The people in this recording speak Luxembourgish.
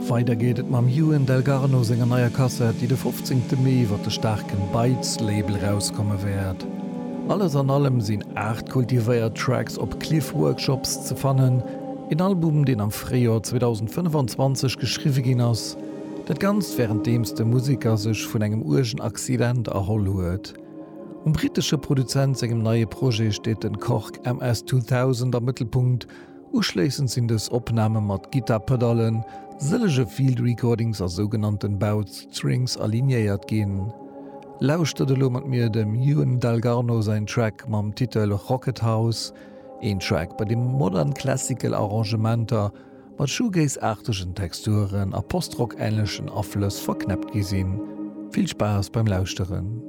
Weider geet et mam Ewan Dalgarno senger neier Kassett, déi de 15. Mee iwwer de staarken Bytes Label erauskomme wäert. Alles an allem sinn 8 kultivéiert Tracks op Cliff Workshops ze fannen, een Album deen am Fréijoer 2025 geschriwwe ginn ass, dat Ganzt wärenddeems de Museker sech vun engem uergen Accident erholl huet. Um brittesche Produzent sengem neie Projet steet den Korg MS 2000 am Mëttelpunkt. Uschléissend sinn dës Opname mat Gittar-Pedallen, sëllege Field Recordings a sougenannten Bowed Strings alignéiert ginn. Lauschtert elo mat mir dem Ewan Dalgarno säin Track mam Titel Rocket House, een Track bei deem modern classical Arrangementer mat Shoegaze-aartegen Texturen a Post-Rock-änlechen Aflëss verknäppt gi sinn. Vill Spaass beim Lauschteren!